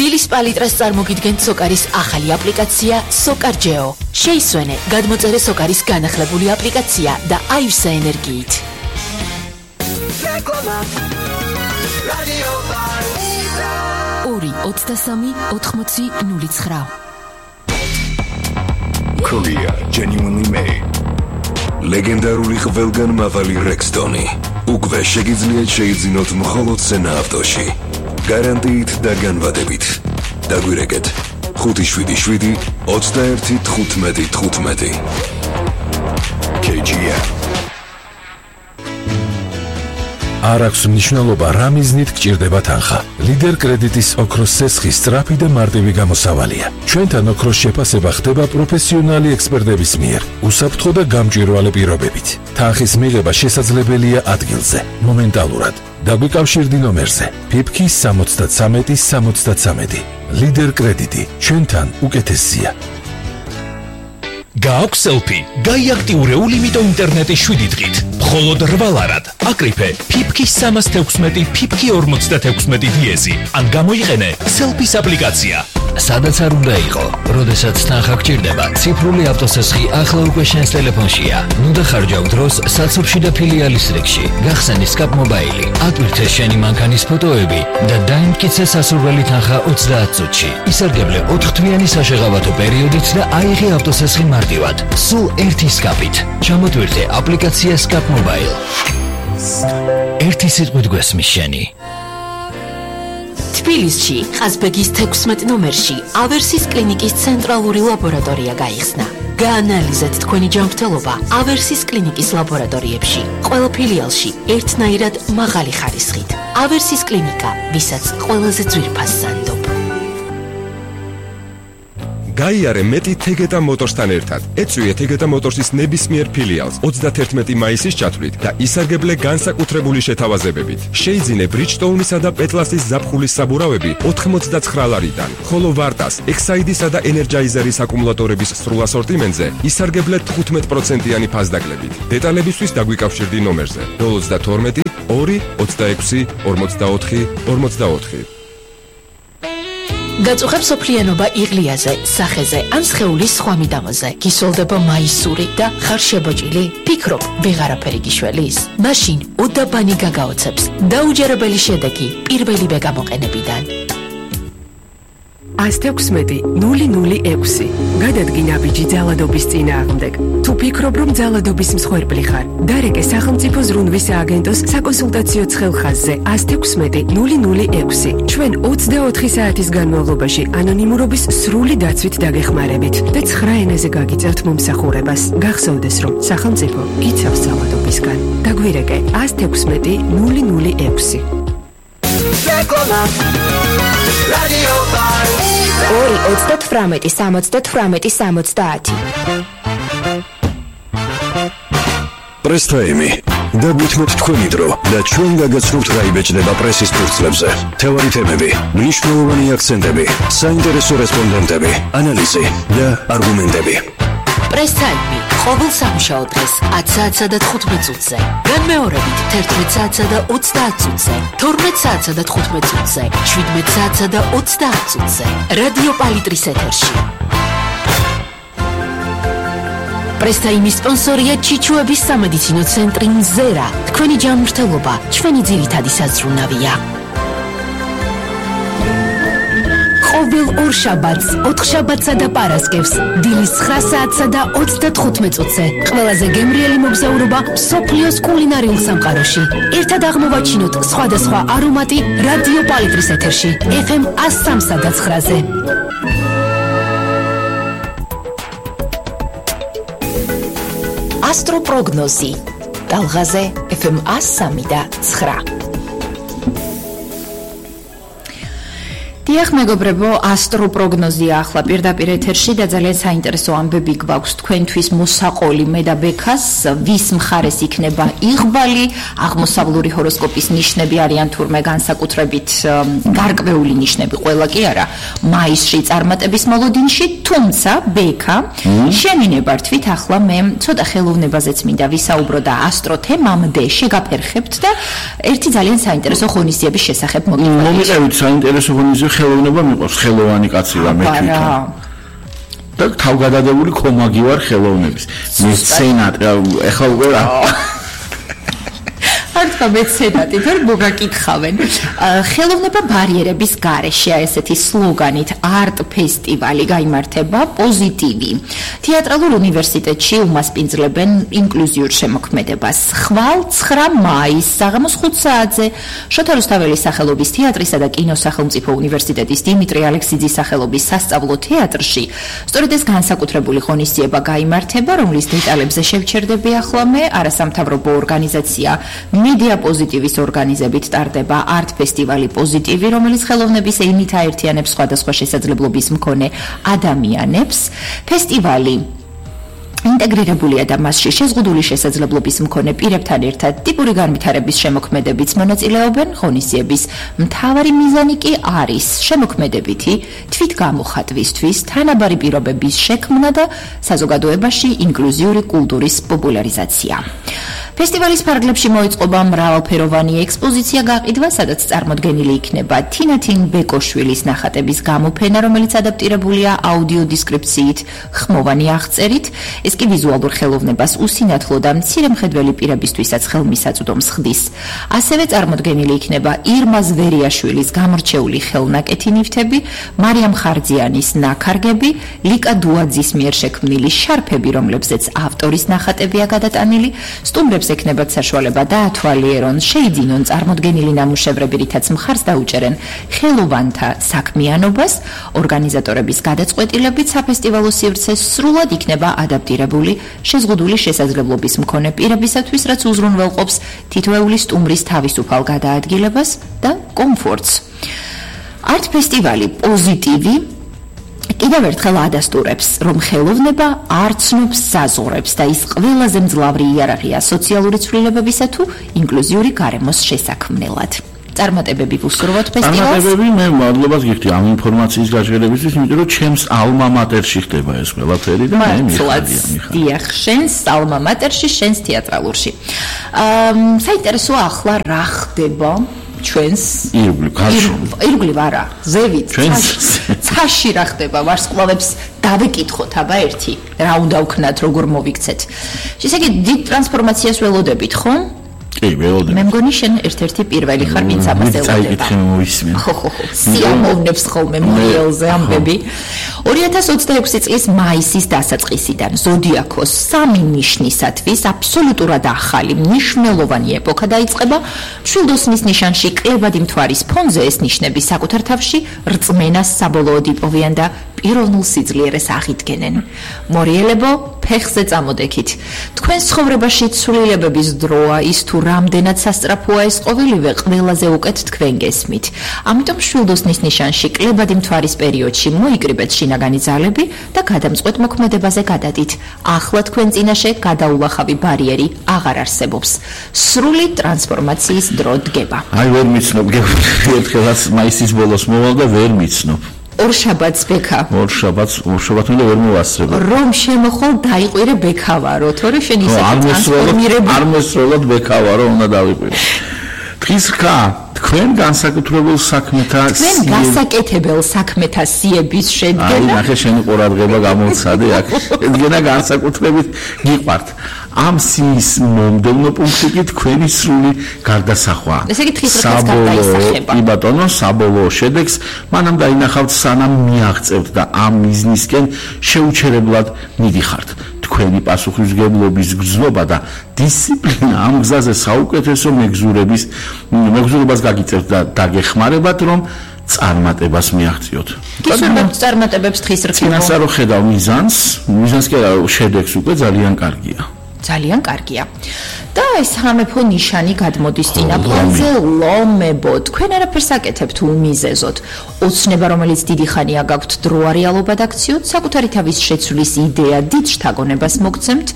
დილის პალიტრას წარმოგიდგენთ სოკარის ახალი აპლიკაცია SOCARGEO. შეისვენე გადმოწერე სოკარის განახლებული აპლიკაცია და აივსე ენერგიით. ორი 23 80 09. Korea genuinely made. ლეგენდარული ყველგან მაღალი Rexton-ი. უკვე შეგიძლიათ შეიძინოთ მხოლოდ სენა ავტოში. გარანტიით და განვადებით. დაგვირეკეთ 577 21 15 15. KGM. არ აქვს მნიშვნელობა რა მიზნით გჭირდება თანხა. ლიდერ კრედიტის ოქროს სესხი სწრაფი და მარტივი გამოსავალია. ჩვენთან ოქროს შეფასება ხდება პროფესიონალი ექსპერტების მიერ, უსაფრთხო და გამჭვირვალე პირობებით. თანხის მიღება შესაძლებელია ადგილზე, მომენტალურად. დაგვიკავშირდი ნომერზე PIPK 73 73. ლიდერ კრედიტი, ჩვენთან უკეთესია. გააქვს სელფი, გაიაქტიურე ულიმიტო ინტერნეტის 7 დღით. მხოლოდ 8 ლარად. აკრიფე PIPK 316 PIPK 46 დიეზი. ან გამოიყენე სელფის აპლიკაცია. სადაც არ უნდა იყო, როდესაც თანხა გჭირდება, ციფრული ავტოსესხი ახლა უკვე შენს ტელეფონშია. ნუ დახარჯავ დროს საცობში და ფილიალის რიგში. გახსენი Scap Mobile. ატვირთე შენი მანქანის ფოტოები და დაიმტკიცე სასურველი თანხა 30 წუთში. ისარგებლე 4 თვიანი საშეღავათო პერიოდით და აიღე ავტოსესხი მარტივად. სულ ერთი Scap-ით. ჩამოტვირთე აპლიკაცია Scap Mobile. ერთი სიტყვით გვესმის შენი. თბილისში, ყაზბეგის 16 ნომერში, ავერსის კლინიკის ცენტრალური ლაბორატორია გაიხსნა. გაანალიზეთ თქვენი ჯანმრთელობა ავერსის კლინიკის ლაბორატორიებში. ყველა ფილიალში ერთნაირად მაღალი ხარისხით. ავერსის კლინიკა, ვისაც ყველაზე ძვირფას სანდობ. გაიარე მეტი თეგეტა მოტორსთან ერთად. ეწვიე თეგეტა მოტორსის ნებისმიერ ფილიალს 31 მაისის ჩათვლით და ისარგებლე განსაკუთრებული შეთავაზებებით. შეიძინე Bridgestone-ისა და Petlas-ის ზაფხულის საბურავები 89 ლარიდან, ხოლო Vartas, Exide-ისა და Energizer-ის აკუმულატორების სრულ ასორტიმენტზე ისარგებლე 15%-იანი ფასდაკლებით. დეტალებისთვის დაგვიკავშირდი ნომერზე 032 2 26 44 44. გაწუხებ სოფლიანობა იღლიაზე, სახეზე ან სხეულის სხვა მიდამოზე. გისოლდება მაისური და ხარ შებოჭილი? ფიქრობ, ვეღარაფერი გიშველის? მაშინ უდაბანი გაგაოცებს. დაუჯერებელი შედეგი პირველივე გამოყენებიდან. 116-006. გადადგინა ბიჯი ძალადობის წინააღმდეგ. თუ ფიქრობ, რომ ძალადობის მსხვერპლი ხარ, დარეკე სახელმწიფო ზრუნვის სააგენტოს საკონსულტაციო ცხელხაზზე 116-006. ჩვენ 24 საათის განმავლობაში ანონიმურობის სრული დაცვით დაგეხმარებით და 9 ენაზე გაგიწერთ მომსახურებას. გახსოვდეს, რომ სახელმწიფო გიცავს ძალადობისგან. დაგვირეკე 116-006. ორი 38 78 70. პრესტაიმი. დაგვითმოთ თქვენი დრო და ჩვენ გაგაცნობთ რა იბეჭდება პრესის ფურცლებზე. თევარი თემები, მნიშვნელოვანი აქცენტები, საინტერესო რესპონდენტები, ანალიზი და არგუმენტები. პრესტაიმი. ყოველ სამუშაო დღეს 10 საათსა და 15 წუთზე. განმეორებით 11 საათსა და 30 წუთზე. 12 საათსა და 15 წუთზე. 17 საათსა და 30 წუთზე. რადიო პალიტრის ეთერში. პრესტაიმის სპონსორია ჩიჩუების სამედიცინო ცენტრი მზერა. თქვენი ჯანმრთელობა, ჩვენი ძირითადი საზრუნავია. ყოველ ორ შაბათს, 4 შაბათსა და პარასკევს, დილის 9 საათსა და 35 წუთზე. ყველაზე გემრიელი მოგზაურობა მსოფლიოს კულინარიულ სამყაროში. ერთად აღმოვაჩინოთ სხვადასხვა არომატი რადიო პალიტრის ეთერში, FM 103 და 9-ზე. ასტროპროგნოზი. ტალღაზე FM 103 და 9. დიახ მეგობრებო, ასტროპროგნოზია ახლა პირდაპირ ეთერში და ძალიან საინტერესო ამბები გვაქვს თქვენთვის მოსაყოლი მე და ბექას, ვის მხარეს იქნება იღბალი, აღმოსავლური ჰოროსკოპის ნიშნები არიან თურმე განსაკუთრებით გარკვეული ნიშნები, ყველა კი არა, მაისში წარმატების მოლოდინში, თუმცა ბექა, შენი ნებართვით ახლა მე ცოტა ხელოვნებაზეც მინდა ვისაუბრო და ასტრო თემამდე შეგაფერხებთ და ერთი ძალიან საინტერესო ღონისძიების შესახებ მოგიყვებით. მომიყევით საინტერესო ღონისძიება ხელოვნება მიყვარს, ხელოვანი კაცი ვარ მე თვითონ. და თავგადადებული კომაგი ვარ ხელოვნების. მეცენატ, ეხლა უკვე რა არც მეცენატი ვერ მოგაკითხავენ. ხელოვნება ბარიერების გარეშე ესეთი სლოგანით არტ ფესტივალი გაიმართება პოზიტივი. თეატრალურ უნივერსიტეტში უმასპინძლებენ ინკლუზიურ შემოქმედებას. ხვალ 9 მაისს საღამოს 5 საათზე შოთა რუსთაველის სახელობის თეატრისა და კინოს სახელმწიფო უნივერსიტეტის დიმიტრი ალექსიძის სახელობის სასწავლო თეატრში სწორედ ეს განსაკუთრებული ღონისძიება გაიმართება, რომლის დეტალებზე შევჩერდები ახლა მე. არასამთავრობო ორგანიზაცია მედია პოზიტივის ორგანიზებით ტარდება არტ ფესტივალი პოზიტივი, რომელიც ხელოვნების ენით აერთიანებს სხვადასხვა შესაძლებლობის მქონე ადამიანებს. ფესტივალი ინტეგრირებულია და მასში შეზღუდული შესაძლებლობის მქონე პირებთან ერთად ტიპური განვითარების შემოქმედებიც მონაწილეობენ. ღონისძიების მთავარი მიზანი კი არის შემოქმედებითი თვითგამოხატვისთვის თანაბარი პირობების შექმნა და საზოგადოებაში ინკლუზიური კულტურის პოპულარიზაცია. ფესტივალის ფარგლებში მოიწყობა მრავალფეროვანი ექსპოზიცია გაყიდვა, სადაც წარმოდგენილი იქნება თინათინ ბეკოშვილის ნახატების გამოფენა, რომელიც ადაპტირებულია აუდიო დესკრიფციით, ხმოვანი აღწერით. ეს კი ვიზუალურ ხელოვნებას უსინათლო და მცირემხედველი პირებისთვისაც ხელმისაწვდომს ხდის. ასევე წარმოდგენილი იქნება ირმა ზვერიაშვილის გამორჩეული ხელნაკეთი ნივთები, მარიამ ხარძიანის ნაქარგები, ლიკა დუაძის მიერ შექმნილი შარფები, რომლებზეც ავტორის ნახატებია გადატანილი. სტუმრებს ექნებათ საშუალება დაათვალიერონ, შეიძინონ წარმოდგენილი ნამუშევრები, რითაც მხარს დაუჭერენ ხელოვანთა საქმიანობას. ორგანიზატორების გადაწყვეტილებით საფესტივალო სივრცე სრულად იქნება ადაპტირებული შეზღუდული შესაძლებლობის მქონე პირებისათვის, რაც უზრუნველყოფს თითოეული სტუმრის თავისუფალ გადაადგილებას და კომფორტს. არტ ფესტივალი პოზიტივი კიდევ ერთხელ ადასტურებს, რომ ხელოვნება არ ცნობს საზღვრებს და ის ყველაზე მძლავრი იარაღია სოციალური ცვლილებებისა თუ ინკლუზიური გარემოს შესაქმნელად. წარმატებები ვუსურვოთ ფესტივალს. წარმატებები, მე მადლობას გიხდი ამ ინფორმაციის გაჟღერებისთვის, იმიტომ რომ ჩემს ალმა მატერში ხდება ეს ყველაფერი და მე მიხარია. დიახ, შენს ალმა მატერში, შენს თეატრალურში. საინტერესოა ახლა რა ხდება ჩვენს ირგვლივ არა, ზევით, ცაში რა ხდება, ვარსკვლავებს დავეკითხოთ აბა ერთი, რა უნდა ვქნათ, როგორ მოვიქცეთ. შესაძლოა დიდ ტრანსფორმაციას ველოდებით, ხო? კი, ველოდებით. მე მგონი შენ ერთ-ერთი პირველი ხარ, ვინც ამას ელოდება. წაიკითხე მოვისმენ. ხო, სიამოვნებს ხოლმე მოიელზე ამბები. 2026 წლის მაისის დასაწყისიდან ზოდიაქოს 3 ნიშნისათვის აბსოლუტურად ახალი მნიშვნელოვანი ეპოქა დაიწყება. მშვილდოსნის ნიშანში კლებადი მთვარის ფონზე ეს ნიშნები საკუთარ თავში რწმენას საბოლოოდ იპოვიან და პიროვნულ სიძლიერეს აღიდგენენ. მორიელებო, ფეხზე წამოდექით. თქვენ ცხოვრებაში ცვლილებების დროა, ის თუ რამდენად სასწრაფოა ეს ყოველივე ყველაზე უკეთ თქვენ გესმით. ამიტომ მშვილდოსნის ნიშანში კლებადი მთვარის პერიოდში მოიკრიბეთ შინაგანი ძალები და გადამწყვეტ მოქმედებაზე გადადით. ახლა თქვენ წინაშე გადაულახავი ბარიერი აღარ არსებობს. სრული ტრანსფორმაციის დრო დგება. აი ვერ მიცნობ, ერთხელაც მაისის ბოლოს მოვალ და ვერ მიცნობ. ორშაბათს ბექა. ორშაბათს უნდა ვერ მოვასწრებ. რომ შემოხვალ დაიყვირე ბექავარო, თორე შენ ისე ტრანსფორმირებული არ მოსროლად ბექავარო უნდა დავიყვირო. დღის ხა თქვენ განსაკუთრებულ საქმეთა თქვენ გასაკეთებელ საქმეთა სიების შედგენა. აი ნახე შენი ყურადღება გამოვცადე აქ. შედგენა განსაკუთრებით გიყვართ. ამ სიის მომდევნო პუნქტი კი თქვენი სრული გარდასახვა. ესე იგი დღის რკას გადაისახება. კი ბატონო, საბოლოო შედეგს მანამ დაინახავთ სანამ მიაღწევთ და ამ მიზნისკენ შეუჩერებლად მიდიხართ. თქვენი პასუხისმგებლობის გრძნობა და დისციპლინა ამ გზაზე საუკეთესო მეგზურებას გაგიწევთ და დაგეხმარებათ, რომ წარმატებას მიაღწიოთ. გისურვებთ წარმატებებს დღის რკინო. წინასწარ რო ხედავ მიზანს კი არა, შედეგს უკვე ძალიან კარგია. ძალიან კარგია. და ეს სამეფო ნიშანი გადმოდის წინა პლანზე ლომებო. თქვენ არაფერს აკეთებთ უმიზეზოდ. ოცნება, რომელიც დიდი ხანია გაქვთ დრო რეალობად აქციოთ, საკუთარი თავის შეცვლის იდეა დიდ შთაგონებას მოგცემთ,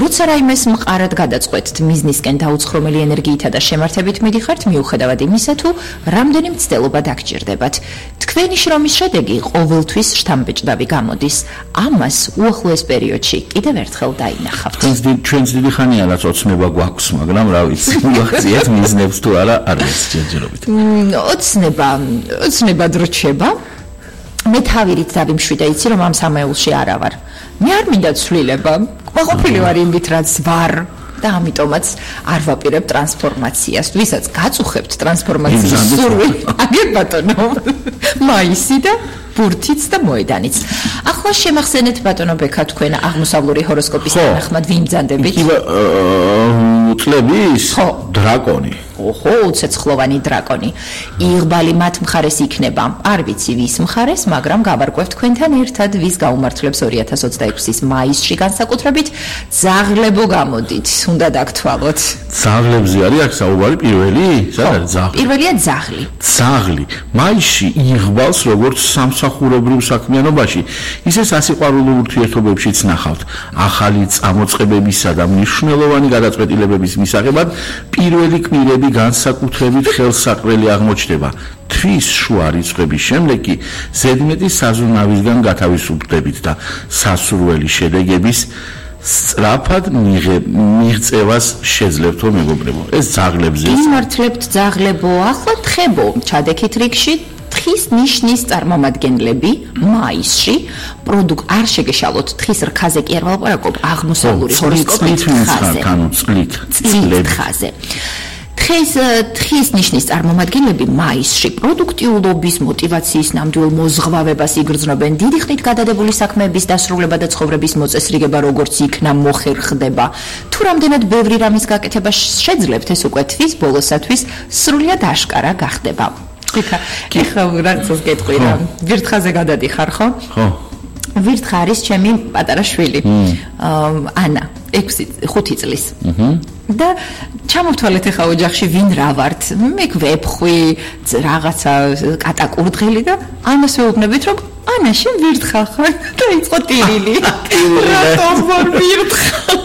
როცა რაიმეს მყარად გადაწყვეტთ, მიზნისკენ დაუცხრომელი ენერგიითა და შემართებით მიდიხართ, მიუხედავად იმისა, თუ რამდენი მცდელობა დაგჭირდებათ. თქვენი შრომის შედეგი ყოველთვის შთამბეჭდავი გამოდის. ამას უახლოეს პერიოდში კიდევ ერთხელ დაინახავთ. ჩვენს დიდი ხანია რაც ოცნება გვაქვს, მაგრამ რა ვიცი, ვახციეთ მიზნებს თუ არა არის ჯერჯერობით. ოცნება დროჩება. მე თავირით დავიმშვიდე, იცი რომ ამ სამეულში არა ვარ. მე არ მინდა ცვლილება. ყოფილი ვარ იმით რაც ვარ. და ამიტომაც არ ვაპირებ ტრანსფორმაციას. ვისაც გაწუხებთ ტრანსფორმაციის სურვილი, აგერ ბატონო. მაისი და ბურთიც და მოედანიც. ახლა შემახსენეთ ბატონო ბექა თქვენ აღმოსავლური ჰოროსკოპის თანახმად ვინ ბრძანდებით? წლების დრაკონი. ოჰო, უცეცხლოვანი დრაკონი. იღბალი მათ მხარეს იქნება. არ ვიცი ვის მხარეს, მაგრამ გავარკვევთ თქვენთან ერთად ვის გაუმართლებს 2026-ის მაისში განსაკუთრებით ძაღლებო გამოდით. უნდა დაგთვალოთ. ძაღლებზე არის აქ საუბარი პირველი? სადაც ძაღლი? პირველია ძაღლი. ძაღლი. მაისში იღბალს როგორც სამსახურებრივ საქმიანობაში, ისე სასიყვარულო ურთიერთობებშიც ნახავთ. ახალი წამოწყებებისა და მნიშვნელოვანი გადაწყვეტილებების მისაღებად პირველი კვირები განსაკუთრებით ხელსაყრელი აღმოჩნდება. თვის შუა რიცხვების შემდეგ კი ზედმეტი საზრუნავისგან გათავისუფლდებით და სასურველი შედეგების სწრაფად მიღწევას შეძლებთ მეგობრებო. ეს ძაღლებზეა. იმართლებთ ძაღლებო, ახლა თხებო, ჩადექით რიგში თხის ნიშნის წარმომადგენლები მაისში არ შეგეშალოთ თხის რქაზე კი არ ვალაპარაკობ აღმოსავლური ჰოროსკოპის ხაზე. წლით ხაზე. თხის ნიშნის წარმომადგენლები მაისში პროდუქტიულობის, მოტივაციის, ნამდვილ მოზღვავებას იგრძნობენ. დიდი ხნით გადადებული საქმეების დასრულება და ცხოვრების მოწესრიგება როგორც იქნა მოხერხდება. თუ რამდენად ბევრი რამის გაკეთება შეძლებთ, ეს უკვე თვის ბოლოსათვის სრულიად აშკარა გახდება. ეხლა რაღაცას გეტყვი რა. ვირთხაზე გადადიხარ, ხო? ხო. ვირთხა არის ჩემი პატარა შვილი. ანა, 5 წლის. და ჩამოვთვალეთ ახლა ოჯახში ვინ რა ვართ. მე გვეფხვი, რაღაცა კატაკურდღელი და ანას ვეუბნებით რომ ანა შენ ვირთხა ხარ და იწყო ტირილი. რატომ ვარ ვირთხა?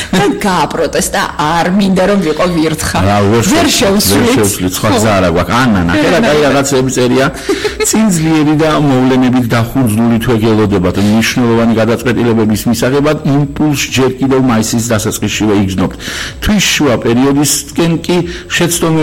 და გააპროტესტა, არ მინდა რომ ვიყო ვირთხა. ვერ შევსვლით. სხვა გზა არა გვაქვს. ანა, ნახე კაი რაღაცები წერია. წინ ძლიერი და მოვლენებით დახუნძლული თვეგელოდებათ მნიშვნელოვანი გადაწყვეტილებების მისაღებად იმპულს ჯერ კიდევ მაისის დასაწყისშივე იგრძნობთ. თვის შუა პერიოდისკენ კი შეცდომები